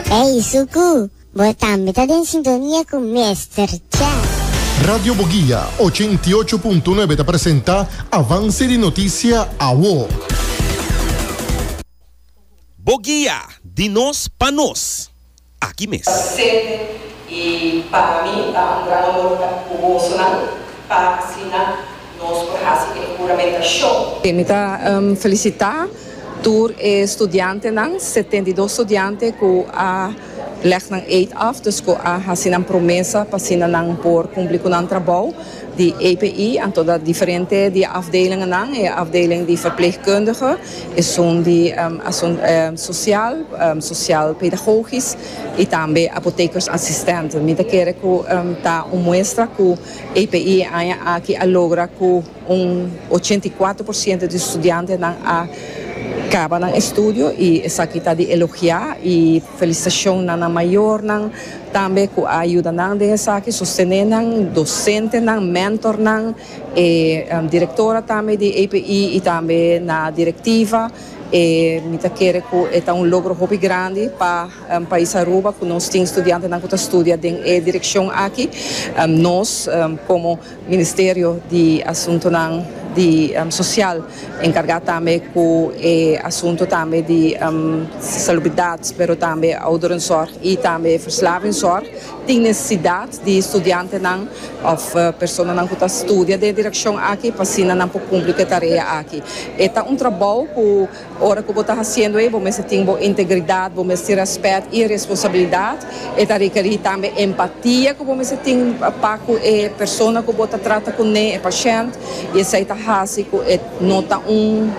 Ey Suku, bo tambe ta den sintonia ku Mister Chan. Radio Boguia 88.9 ta presenta Avance di Noticia Awo. Boguia, di nos pa nos. Aki mes. Presente y pa mi ta un gran honor ta cu bosonan pa asina nos por haci e huramentacion. Mi ta felicita tur e studiantenan, 72 studiante cu a leg nan eed af, dus cu a haci nan promesa pa asina nan por cumpli cu nan trabou di EPI, anto ta diferente di e afdelingennan, e afdeling di verpleegkundige, esun di social, social pedagogisch y tambe apothekersassistenten. Mi ta kere cu ta un muestra cu EPI e aña aki a logra cu un 84% di studiantenan a caba nan estudio y esaki ta di elogia y felicitacion na nan mayornan tambe cu a yuda nan den esaki, sostene nan, docentenan, mentornan. E directora tambe di EPI y tambe na directiva. E mi ta kere cu e ta un logro hopi grandi pa pais Aruba cu nos tin studiantenan cu ta studia den e direccion aki. Nos como Ministerio di Asuntonan di Social encarga tambe cu e asunto tambe di salubridad pero tambe ouderenzorg y tambe verslavingszorg. Tin nesesidat di studiantenan òf personanan ku ta studia den e direkshon aki pa asina nan por kumpli ku e tarea aki. E ta un trabou ku ora ku bo ta hasiendo ei bo mester tin bo integridat, bo mester tin rèspèt i responsabilidat. E ta rekerí tambe empatia ku bo mester tin pa ku e persona ku bo ta trata kuné, e pashènt, i esei ta hasi ku e no ta un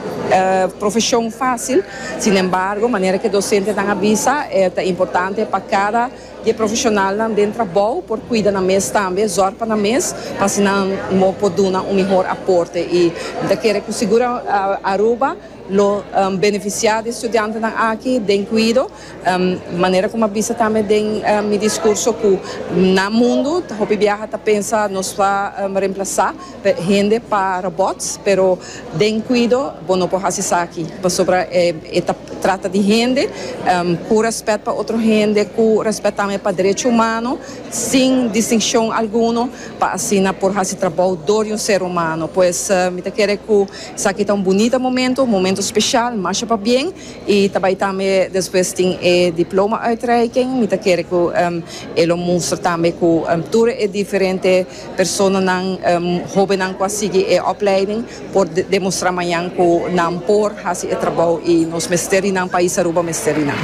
profeshon fásil. Sinembargo, manera ku e dosentenan a bisa, e ta importante pa kada. Di e profesionalnan den trabou por cuida nan mes tambe, zorg pa nan mes, pa asina nan mo por duna un mihor aporte. Y mi ta kere cu sigur Aruba lo beneficia di e studiantenan aki den cuido. Manera cu mi a bisa tambe den mi discurso cu na mundo hopi biaha ta pensa nos ta reemplaza hende pa robots, pero den cuido bo no por haci esaki pasobra e ta trata di hende cu respet pa otro hende, cu respet tambe pa derecho humano, sin distincion alguno, pa asina por haci trabou door di un ser humano. Pues mi ta kere cu esaki ta un bunita momento, un momento special, masha pabien, y ta bay tambe despues tin e diploma uitreiking. Mi ta kere cu e lo mustra tambe cu tur e diferente Personanan hobennan ku a sigui e opleiding por demostrá mañan ku nan por hasi e trabou i nos mester di nan, pais Aruba mester di nan.